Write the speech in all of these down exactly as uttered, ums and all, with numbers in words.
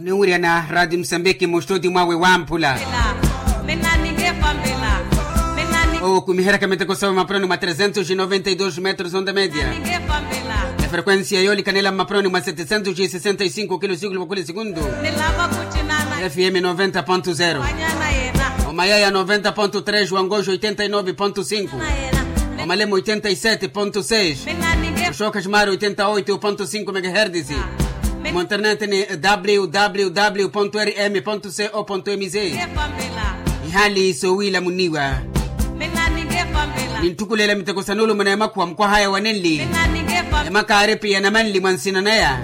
Ninwiriyana rati musambiki mustudi mwawe wamphula. Owo kumiheryaka miteko sawe mapurani mwa tresentos noventa y dos metros onda media. Efrekuensia yoolikanela mmapurani mwa setesentos sesenta y cinco kilo sikulu vakhuli sekundu. Fm noventa ponto zero. Omayaya noventa ponto tres, wangoxo oitenta y nove ponto cinco. Omalemo oitenta y sete ponto seis. Oxookha ximari oitenta oito ponto cinco megahertis. Mu internet ni www rm co mz. Ihali sowiila muniwa. Ninttukulela miteko sa nuulumo na emakhuwa mukwahaya wa nenli. Emakaaripi ya namanli mwa nsina naya.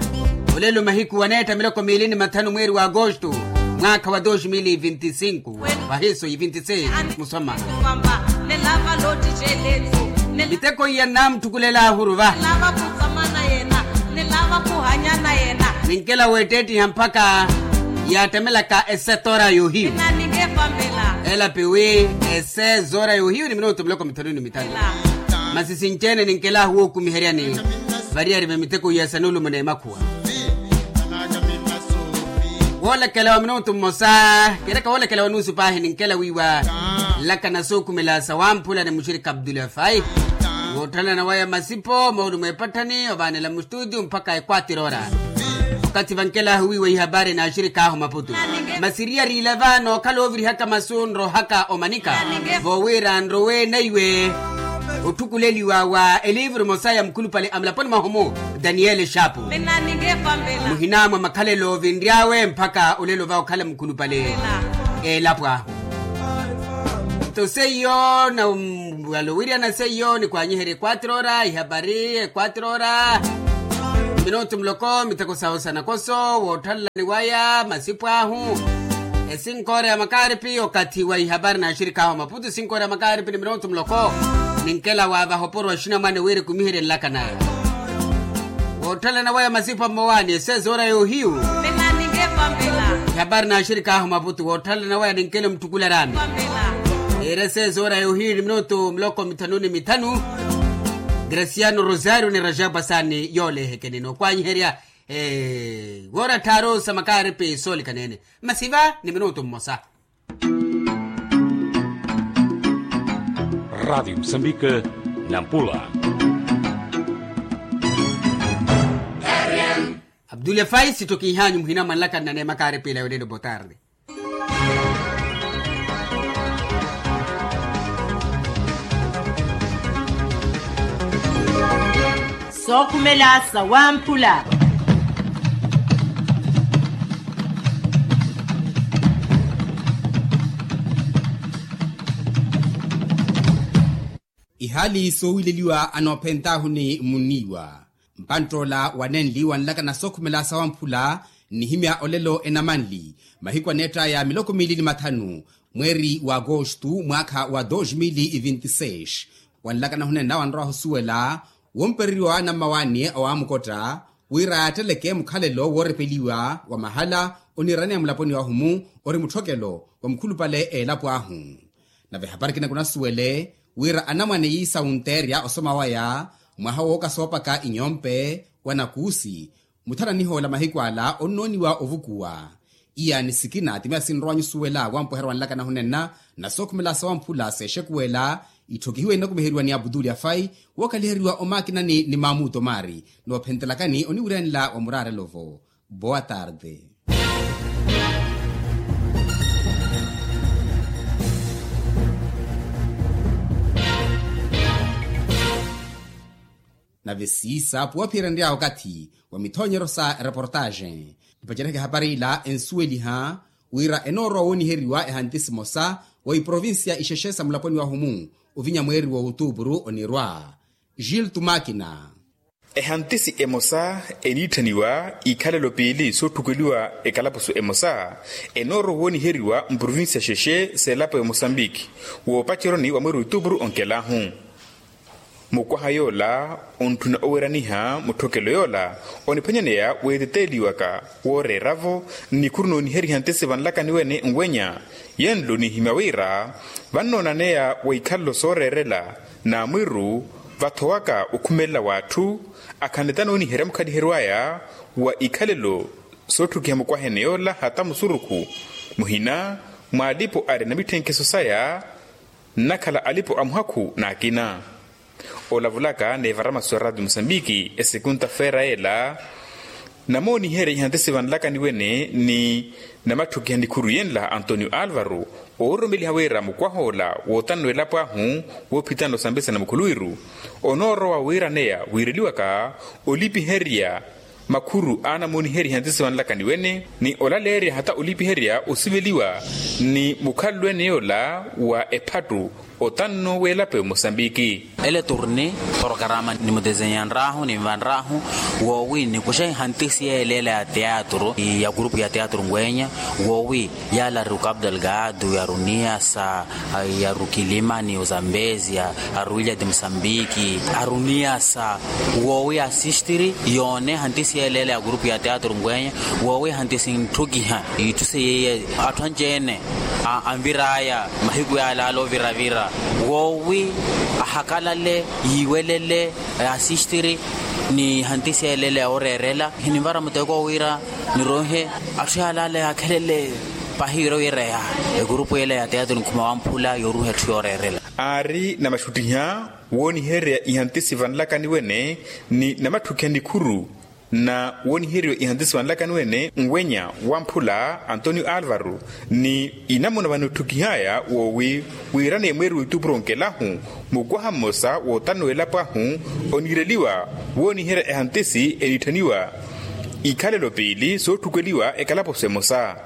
Olelo mahiku waneetta miloko miili ni mathanu mweeri wa agosto, mwaakha wa dos mil vinti cinco. Vahiso yi vinti seis musoma. Miteko iya nnaamuttukulela ahuruva. Ninkela weetteettiha mpakha yaattemelaka esetora yohiyu. Elapi wi esetora yohiyu ni minutu miloko mithanu ni mithanu. Masi sinci-ene ninkelaahu wookumiheryani variyari va miteko iya sa nuulumo n'emakhuwa. Woolekela wa minutu mmosa, kireka woolekela wa nuusu paahi ninkela wiiwa nlakana sookhumela sa wamphula ni muxirikha abdulafayi. Wootthana na waya masipo moolumo epatthani ovaanela mustutiyu mpakha ekwatira ora. Okathi vankelaahu wiiwa ihapaari n'axirikaahu maputu. Masi riyari ilava nookhala oovirihaka masu nrohaka omanika vowira nrowe naiwe otthukuleliwa wa eliivuru emosa ya mukhulupale a mulaponi mwahu-mu, daniyeli exaapu. Muhina mwa makhalelo vinry'awe mpakha olelo va okhala mukhulupale. Elapo ahu nto seiyo na wala owiryana seiyo nikwanyiherya ekwatira ora ihapari ekwatira ora. Minutu muloko miteko sawo sa nakoso woothalelani waya masipo ahu. Esinkoora ya makaaripi okathi wa ihapari n'axirikaahu a maputu esinkoora ya makaaripi ni minutu muloko. Ninkela wa vahoporo axinamwane wira ekumiherye nlakana. Woothalana waya masipa mmowaani esezoora yoohiyu. Ihapari n'axirikaahu maputu woothalana waya ninkele omuttukula raami. Ira esezoora yoohiyu ni minutu muloko mithanu ni mithanu. Graciano rosario ni rajabu asaani yoolehekeneni okwanyiherya. Woora tthaaru sa makaaripi soolikaneene. Masiva ni minutu mmosa. Radiyo musambika nampula. Abdule fai sittokihanyu muhina mwanlaka nnanema kaarepela yolelo botarde. Sookhumela sawamphula. Ihaali soowileliwa anoophentaahu ni muniiwa. Mpanttoola wanenli wanlakana sookhumela sawamphula nnihimya olelo enamanli mahiku aneettaya miloko miili ni mathanu mweeri wa agostu mwaakha wa dos mil vinti seis. Wanlakana hunenna wanrowa ohusuwela wompereriwa wa anammawaani awamukotta wira yaatteleke mukhalelo woorepeliwa wa mahala oniiraneya mulaponi wahu-mu ori mutthokelo wa mukhulupale a elapo ahu. Nave ehapari ekina kunasuwele wira anamwane yiisa wunteerya osoma waya mwaha wooka soopaka inyompe wa nakuusi. Mutthana nihoola mahiku ala onnooniwa ovukuwa. Iyaani sikina ti miya sinrowa nyusuwela wampweherya wanlakana hunenna na sookhumela sawamphula seexekuwela. Itthokihiwe inokumiheriwa ni abuduli afai wookaliheriwa omaakinani ni maamuto maari noophentelakani oniwiryanela wa muraarelo-vo. Boa tarde. Nave siisa puwaphiyerenrya okathi wa mithoonyeryo sa reportaxe. Ipacereke ehapari ila ensuweliha wira enoorowa wooniheriwa ehantisi emosa wa iprovincia ixexe sa mulaponi wahu-mu ovinya mweeri wa otuupuru onirwa. Gil tumakina. Ehantisi emosa eniitthaniwa ikhalelo piili sootthukweliwa ekalapusu emosa enoorowa wooniheriwa mprovincia xexe s'elapo ya mosambiki woopaceroni wa mweeri otuupuru onkelaahu. Mukwaha yoola ontthuna oweraniha mutthokelo yoola oniphwanyaneya weeteteeliwaka wooreera-vo nnikhuru nooniheriha ntisi vanlakani wene nweenya. Yenlo nihimya wira vannoonaneya wa ikhalelo sooreerela n'amwiru vathowaka okhumelela w'atthu akhanle tanooniherya mukhaliheriwaya wa ikhalelo Sootthukiha mukwahene yoola hata musurukhu muhina mwa alipo ari na mitthenkeso saya nnakhala alipo a muhakhu n'akina. Olavulaka n'evara masu ya raatiyo musambiki esekunta feera ela namooniherya ihantisi vanlakani wene ni namatthukiha nikhuru yenla antonio alvaro oororomeliha wira mukwah'ola wootanno elapo ahu woophitana osambisana mukhuluwiru onoorowa wiiraneya wiireliwaka olipiherya makhuru aanamooniherya ihantisi vanlakani wene ni olaleerya hata olipiherya osiveliwa ni mukhalelo ene yoola wa ephattu otanno w'elapo ya mosambiki. Ele turni porokarama nimutezenyanrahu ninvanrahu woowi nikuxa ihantisi yeeleela ya teatru ya kurupu ya teatru ngwenya woowi yala ari ukapu delgado ya runiasa ya rukilima ni uzambezia aruwilya ti musambiki aruniasa woowi asistiri yoone hantisi yeeleela ya kurupu ya teatru ngwenya woowi hantisi ntthukiha itthu seiye atthu anci-ene anvir'aya mahiku yaalaala oviravira woowi ahakalale yiiwelele asistiri ni hantisi yeeleela ya oreerela hininvara muteko wira niroihe atthu yaalaala yaakhelele pahi wira wireya ekurupu yela ya teatru nikhuma wamphula yooruha etthu yooreerela. Aari namaxuttiha wooniherya ihantisi vanlakani wene ni namatthukiha nikhuru na wooniheriwa ihantisi vanlakani wene nwenya wamphula antonio alvaro ni inamuna vanootthukih'aya woowi wiirane mweeri w'etupuro nkelahu mukwaha mmosa wootanno w'elapo ahu oniireliwa wooniherya ehantisi eniitthaniwa ikhalelo piili sootthukeliwa ekalaposo emosa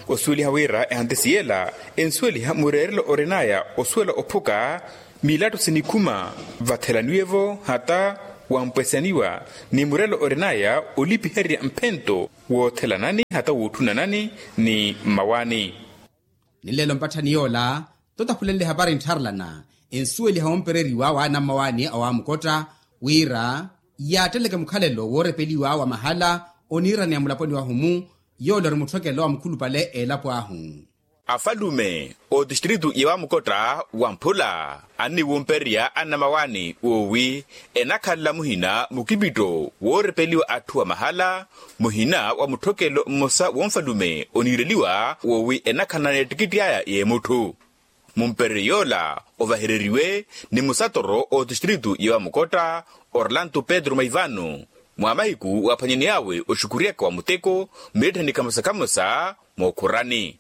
osuweliha wira ehantisi yela ensuweliha mureerelo orin'aya osuwela ophuka milattu sinikhuma vathelaniwe-vo hata wampwesaniwa ni murelo orin'aya olipiherya mphento woothelanani hata wootthunanani ni mmawani. Ni nlelo mpatthani yoola totaphulenle hapari nttharelana ensuweliha wompereriwa w'anammawani awamukotta wira yaatteleke mukhalelo woorepeliwa wa mahala oniiraneya mulaponi wahu-mu yoola ori mutthokelo wa mukhulupale elapo ahu. Afalume otistritu ya wamukotta wamphula anniwumpererya annamawani woowi enakhalela muhina mukipitto woorepeliwa atthu wa mahala muhina wa mutthokelo mmosa wonfalume oniireliwa woowi enakhalana n'ettikitti aya y'emutthu mumpereryo yoola ovahereriwe ni musatoro otistritu ya wamukotta orlanto pedro maivano mwa mahiku waaphwanyaney'awe oxukuryaka wa muteko mmiletthani kamosa kamosa mookhurani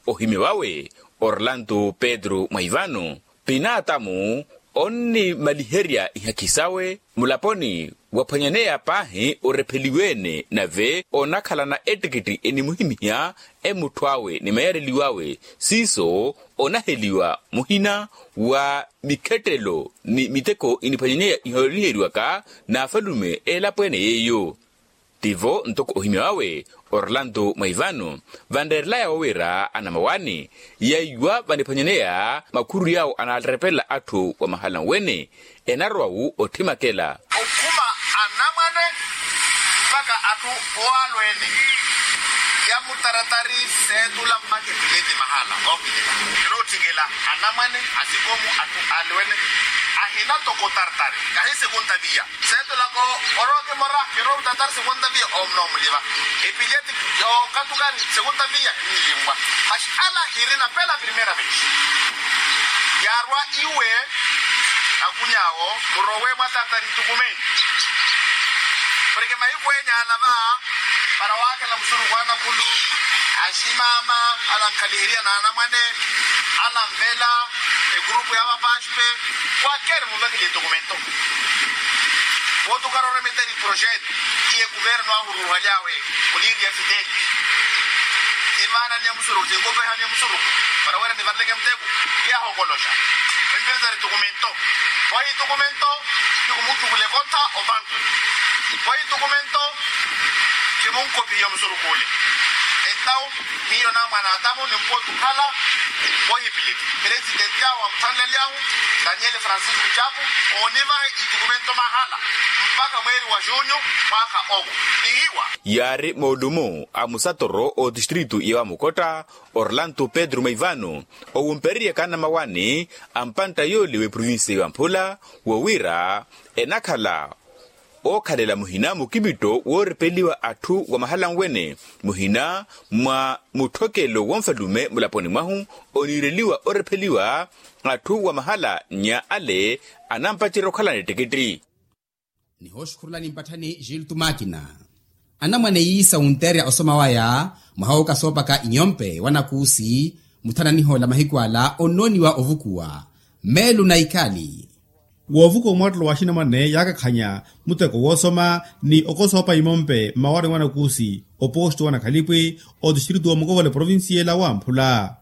ohimya wawe orlanto pedro mwaivano pinaatamu onnimaliherya ihakhi sawe mulaponi waphwanyaneya paahi orepheliwe-ene nave onakhalana ettikitti enimuhimiha emutthu awe ni mayareliw'awe siiso onaheliwa muhina wa mikhettelo ni miteko iniphwanyaneya ihooliheriwaka n'afalume elapo ene yeiyo tivo ntoko ohimya wawe orlanto mwaivano vanreerelaya wowira anamawani yaiwa vaniphwanyaneya makhuru yawo anaarepelela atthu wa mahala nwene enarowa-wu otthimakela okhuma anamwane mpaka atthu owalwene ya mutaratari seetula mpaka epileti mahala ookilila kirootthikela anamwane asikomu atthu alwene ahina toko taratari kahi sekunta viya seetulaka orooke mora kiroowuttattari sekunta viya omunoomuliva epileti yookatukani sekunta viya nnilimmwa maxi ala hirina pela primera vez yaarwa iwe akuny'awo murowe mwa taratari tukumeni porke mahiku enya alava para waakhela musurukhu anakulu aximaama ala nkhaliheriya n'anamwane ala nvela egurupu ya vapaspe kwakeri muvekele etokumento vootukara oremeteri projeto iye kuvernu ahuruuhaly'awe oniiriya fiteli tivaananiya musurukhu tinkopehaniya musurukhu para wira nivareleke muteku yahokoloxa empiritari tokumento vohi tokumento nikumuttuvula ekontha opantu vohi tokumento kimunkopihiya musurukhu ole entawu miyo na mwan'atamu nimpootukhala vohipileti presidenti ahu amutthanlelyahu daniele francisco chapo oonivaha itukumento mahala mpakha mweeri wa junyu mwaakha owo nihiwa yaari moolumo a musatoro otistritu ya wamukotta orlanto pedro maivano owumpereryaka anamawani a mpantta yoole w'eprovinsiya ya wamphula wowiira enakhala Ookhalela muhina mukipitto woorepeliwa atthu wa mahala anwene, muhina mwa mutthokelo wonfalume mulaponi mwahu, oniireliwa orepheliwa atthu wa mahala nnya ale anampacerya okhalana ettikitti. Nihooxukhurulani mpatthani gilto makina. Anamwane yiisa wunteerya osoma waya mwaha wookasoopaka inyompe wa nakuusi, muthananiho la mahiku ala onnooniwa ovukuwa meelu na ikali. Woovukuwa mwattelo wa axinamwane yaakakhanya muteko woosoma ni okosoopa imompe mmawaani wa nakuusi, opoosto wa nakhalipwi, otistritu wa mukovole provinciela wamphula.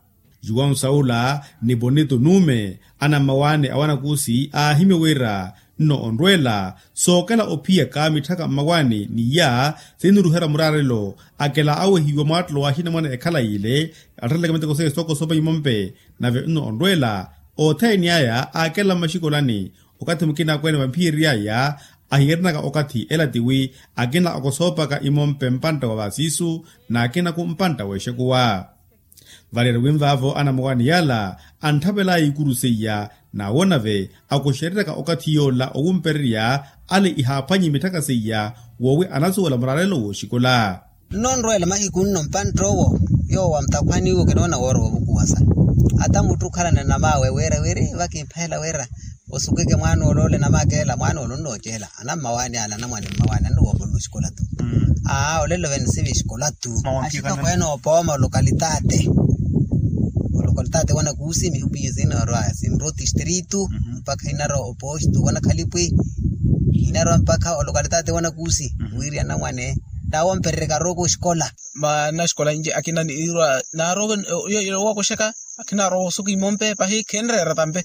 Juwau saula ni bonito nuume, anammawaani a wanakuusi aahimye wira nno onrweela sookela ophiyaka mitthaka mmawaani ni iya, sinnuruherya muraarelo akela awehiwa mwaattelo wa axinamwane ekhala yiile, attaleleke miteko seiya sookosoopa imompe. Nave nno onrweela othene aya aakela mmaxikolani, okathi mukina akweene vamphiyeriyaya ahiyerenaka okathi ela tiwi akina okosoopaka imompe mpantta wa vasiisu, n'akinaku mpantta w'exekuwa. Valeeri winvaavo anamuwaani yala antthavelaya ikuru seiya, n'awo nave akuxereryaka okathi yoola owumpererya ale ihaaphwanyi mitthaka seiya, woowi anasuwela muraarelo w'oxikola. Nno onrweela mahiku nno mpantt'owo yoowo amutakhwaniwe kinoona woora woovukuwasa. Ata mutthu okhalana nam'awe wira wiri vakimpheela wira osukeke mwaana ole ole namakeela mwaana ole onnoceela. Anammawaani ala anamwaani mmawaani annuwoopolole oxikola tu. Aa olelo vene sivi exikola tu. Axitokweene opooma olokalitate olokalitate wanakuusi mihupiye sinarwa sinrwa otistritu mpakha inarwa oposto wanakhalipwi. Inarwa mpakha olokalitate wanakuusi wiri anamwane naawompererya karooko oxikola. Manaxikola inci akina niirwa naarowa owokuxeka. Akhinarowa osuka imompe pahi khenreera tampe.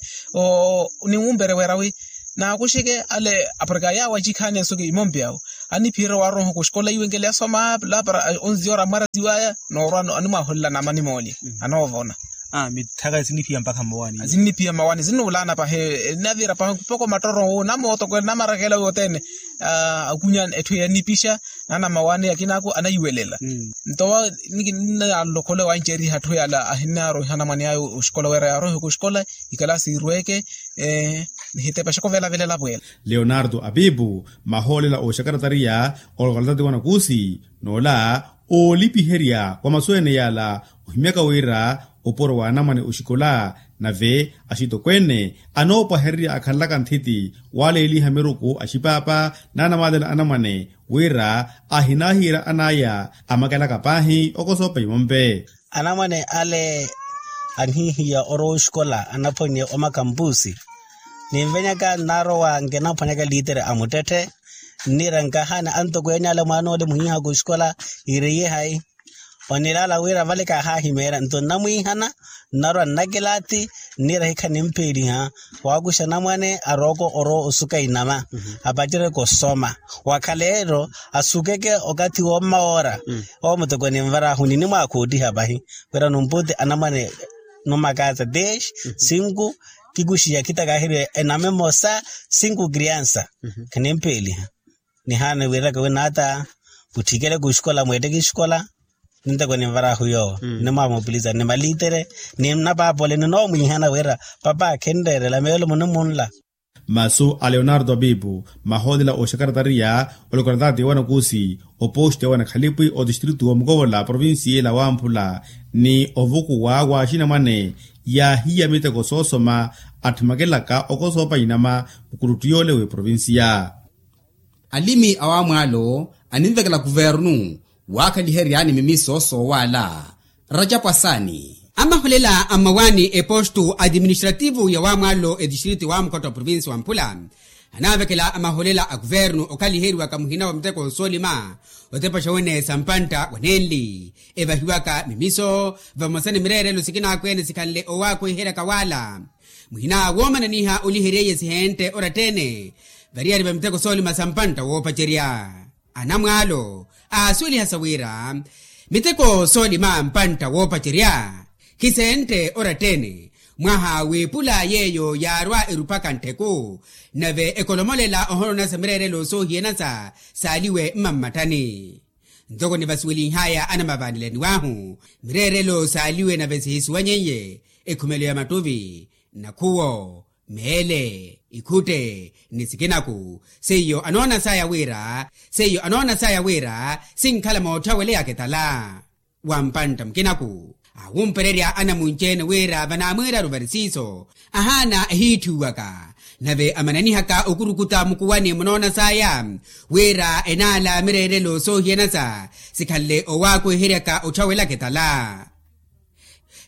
Niwumpere wira wi naakuxeke ale aporika yaawo acikhaani esuka imompe awo. Aniphiherya waaroha kuxikola iwe nkele asoma lapara onziora amwarasiwaya noorwa animwaholela namani moolya anoovona. Mitthaka siniphiya mpakha mmawaani siniphiya mmawaani sinnuulaana pahi. Navira pahi mpoko mattoro namootokwela namarakela wothene. Akunya etthu yanipixa. Nana mawaani akinaku anayiwelela. Nto niki nnalokhole wancerya atthu yala ahinaaroiha anamwane aya oxikola wira yaaroihe kuxikola. Ikalasi irweke nihitepa xoko velavelela pwela. Leonardo apipu mahoolela oxakaratariya olokalitati wanakuusi noola oolipiherya wa masu ene yala ohimyaka wira opuro wa anamwane oxikola nave axitokweene anoopwahererya akhanlaka nthiti waaleeliha miruku axipaapa n'anamaalela anamwane wira ahinaahiira an'aya amakelaka paahi okosoopa imompe. Anamwane ale anhihiya orowa oxikola anaphwanye omakampusi. Ninvenyaka nnarowa nkinamphwanyaka liitere a muttetthe. Nniira nkahani antokweene ale mwaana ole muhiihaka oxikola ireiye hayi? Onilaala wira vale kaahaahimeerya nto nnamwiihana nnarwa nnakilati. Nniira hikha nimpeeliha waakuxa anamwane arooko orowa osuka inama apacereke osoma. Wakhaleelo asukeke okathi wommawoora. Owo muteko ninvaraahu ninimwaakhoottiha pahi wira numputi anamwane numakaasa desh sinku kikuxiya khitakaaheriwe enama emosa sinku kriansa. Khanimpeeliha nihaana wiiraka winaata mutthikele kuxikola mweetteke exikola. Ninteko ninvaraahu yoowo nimwamupiliza ni maliitere ni napaapole ninoomwiihana wira papa khinreerela meelo munimunla. Masu a leonardo apipu mahoolela oxakaratariya olokaratati wanakuusi opoxti wanakhalipi otistritu wa mukovola provincia ela wamphula ni ovukuwa wa axinamwane yaahiya miteko soosoma atthimakelaka okosoopa inama mukuluttu yoole w'eprovincia. Alimi a wamwaalo aninvekela kuvernu waakhaliheryani mimiso soowaala. Racapwasaani amaholela a mmawaani epostu adiministrativu ya wamwaalo etistriti wa mukhotta provinsi wa mphula. Anavekela amaholela a kuvernu okhaliheriwaka muhina wa miteko soolima otepaxa wene sa mpantta wa nenli evahiwaka mimiso vamosa ni mireerelo sikinaakweene sikhanle owaakweheryaka waala. Muhina woomananiha oliheryeiye sihente orattene variyari va miteko soolima sa mpantta woopacerya. Anamwaalo aasuweliha sa wira miteko soolima mpantta woopacerya khisente orattene mwaha w'epula yeeyo yaarwa eruphaka nttheku nave ekolomolela ohoronasa mireerelo soohiyanasa saaliwe mmammatthani. Ntoko nivasuwelinhaya anamavaanelaniwahu mireerelo saaliwe nave sihisuwanyeiye ekhumelo ya mattuvi nakhuwo meele. Ikhutte ni sikinaku seiyo anoona saya wira seiyo anoona saya wira sinkhala mootthaweleiya akitala. Wa mpantta mukinaku awumpererya anamunci-ene wira vanaamwiiraru varisiiso ahaana ehiitthiwaka nave amananihaka okurukuta mukuwani munoona saya wira enaala mireerelo soohiyanasa sikhanle owaakweheryaka otthawelaka etala.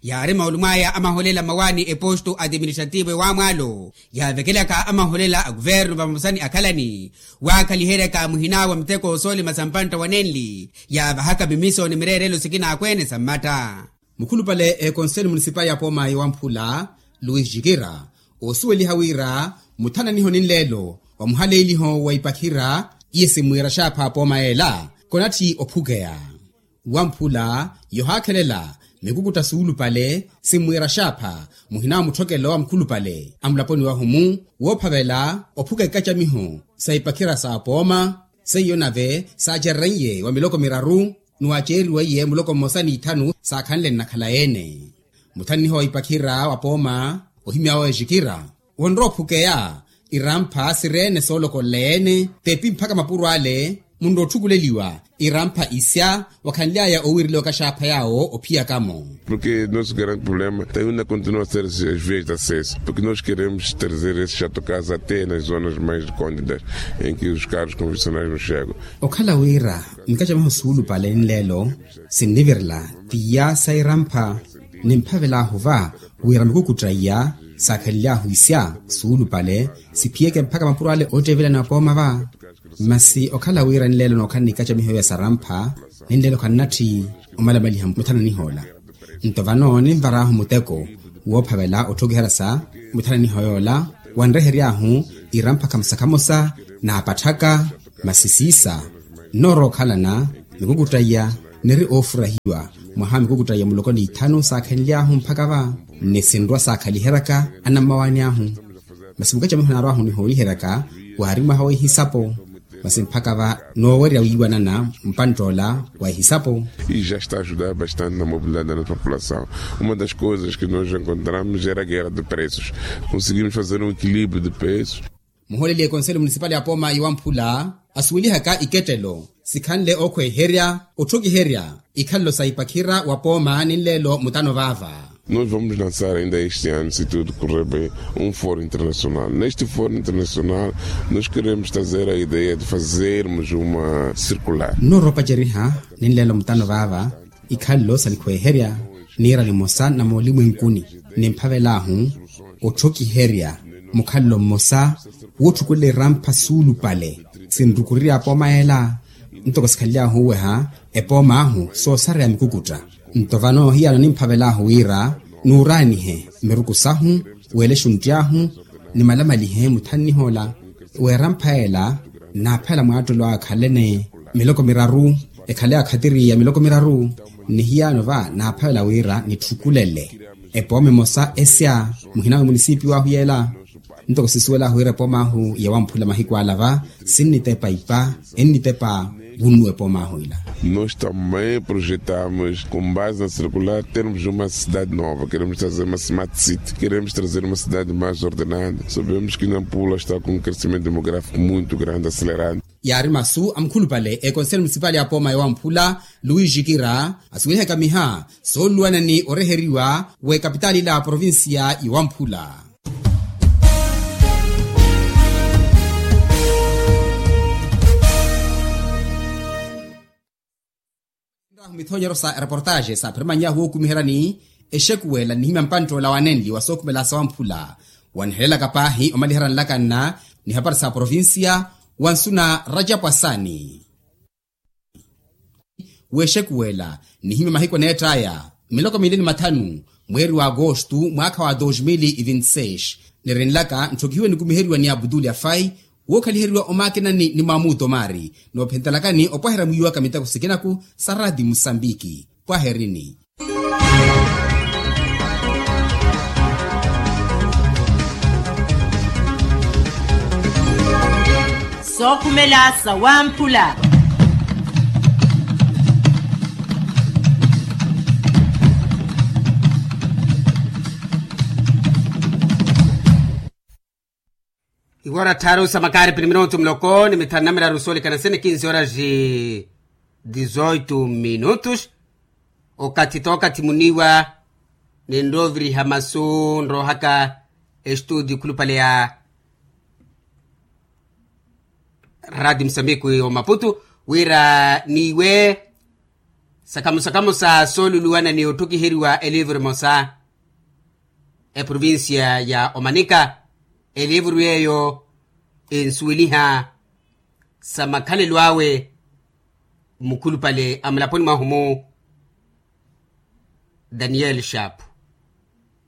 Yaari maulumwaya amaholela mmawaani eposto administrativo ewamwaalo yaavekelaka amaholela a kuvernu vamosa ni akhalani waakhaliheryaka muhina wa miteko soolima sa mpantta wa nenli yaavahaka mimiso ni mireerelo sikinaakweene sa mmatta. Mukhulupale ekonseli munisipali ya pooma yowamphula luis jikira oosuweliha wira muthananiho ni nleelo wa muhaleeliho wa ipakhira iye simmwiira xaapha apooma yeela konatthi ophukeya. Wamphula yohaakhelela mikukutta suulupale simmwiira xaapha muhina wa mutthokelo wa mukhulupale a mulaponi wahu-mu woophavela ophuka ikacamiho sa ipakhira sa apooma seiyo nave saacerereiye wa miloko miraru ni waaceeriweiye muloko mmosa ni ithanu saakhanle nnakhala-ene. Muthananiho wa ipakhira wa pooma ohimyawe ejikira wonrowa ophukeya irampha siri-ene soolokolela-ene tepi mphaka mapuro ale munrowa otthukuleliwa irampha isya wakhanly'aya owiireliwaka xaapha yaawo ophiyaka-mo. Porque nosso grande problema ta yuna continua ser as vias de acesso porque nos queremos trazer esse chato casa até nas zonas mais recônditas em que os carros convencionais nos chegam. Okhala wira mikacamiho suulupale ni nleelo sinnivirela tiya sa irampha nimphavel'ahu va wira mikukutta iya saakhalely'ahu isya suulupale siphiyeke mphaka mapuro ale ootteevelani apooma va. Masi okhala wira nleelo nookhala ni ikacamiho iya sarampha ni nleelo khannatthi omalamaliha muthananih'ola. Nto vano ninvar'ahu muteko woophavela otthokiheryasa muthananih'ola wanrehery'ahu irampha khamosa khamosa naapatthaka. Masi siisa nnoorowa okhalana mikukutta iya niri oofurahiwa mwaha mikukutta iya muloko ni ithanu saakhenly'ahu mphaka va ni sinrwa saakhaliheryaka anammawaani ahu. Masi mukacamiho naarw'ahu nihooliheryaka waari mwaha wa ihisapo masi mphaka va noowerya wiiwanana mpantt'ola wa ihisapo. E já está a ajudar bastante na mobilidade da nossa população. Uma das coisas que nos encontramos era a guerra de preços. Conseguimos fazer um equilíbrio de preços. Muhooleli ekonseli munisipali ya pooma yowamphula asuwelihaka ikettelo sikhanle ookhweeherya otthokiherya ikhalelo sa ipakhira wa pooma ni nleelo mutano vaava. Nós vamos lançar ainda este ano se tudo correr bem um fórum internacional neste fórum internacional nós queremos trazer a ideia de fazermos uma circular. Nnoorowa opaceriha ni nleelo mutano vaava ikhalelo sa nikhweeherya niira nimosa na moolimwenkuni nimphavel'ahu otthokiherya mukhalelo mmosa wootthukulela irampha suulupale sinrukurirya apooma ela. Ntoko sikhanly'ahu oweha epoom'ahu soosareya mikukutta nto vano hiyano nimphavel'ahu wira nuuraanihe miruku sahu weelexe ontty'ahu nimalamalihe muthananih'ola w'erampha ela naaphavela mwaattelo akhalene miloko miraru ekhale akhatiri ya miloko miraru ni hiyano va naaphavela wira nitthukulele epooma emosa esya muhina wa munisipiw'ahu yeela. Ntoko sisuwel'ahu wira epoom'ahu yawamphula mahiku ala va sinnitepa ipa ennitepa vunnuwa epoom'ahu ila. Nós também projetamos com base na circular termos uma cidade nova queremos trazer uma smart city queremos trazer uma cidade mais ordenada sabemos que nampula está com um crescimento demográfico muito grande acelerado. Yaari masu a mukhulupale ekonseli munisipali ya pooma yowamphula luis jikira asuwelihaka miha sooluwana ni oreheriwa w'ekapitaali ila ya provincia yowamphula. Nrahu mithonyero sa ereportaxe saaphirimany'ahu wookumiheryani exekuwela nnihimya mpantt'ola wa nenli wa sookhumela sawamphula waniheleelaka paahi omaliherya nlakanna ni hapari sa provincia wa nsuna rajapu asani. Wexekuwela nihimya mahiku aneett'aya miloko miili ni mathanu mweeri wa agostu mwaakha wa dos mil e vinte seis nirinlaka ntthokihiwe nikumiheriwa ni abuduli afai wookhaliheriwa omaakinani ni mwamuuto maari noophentelakani opwaherya mwiiwaka miteko sikinaku sa radi musambiki. Pwaherini. Sookhumela sawamphula. Ora tharu sa makaari pini minutu muloko ni mithanu na miraru soolekana sene kinsi ora ji dizoitu minutus. Okathi t'okathi muniiwa ninrooviriha masu nroohaka estudio khulupale ya radio musambiki omaputu wira niiwe sakamusakamu sa sooluluwana ni otthukiheriwa elivuru emosa eprovincia ya omanika. Elivuru yeeyo ensuweliha sa makhalelo awe mukhulupale a mulaponi mwahu-mu daniel shapu.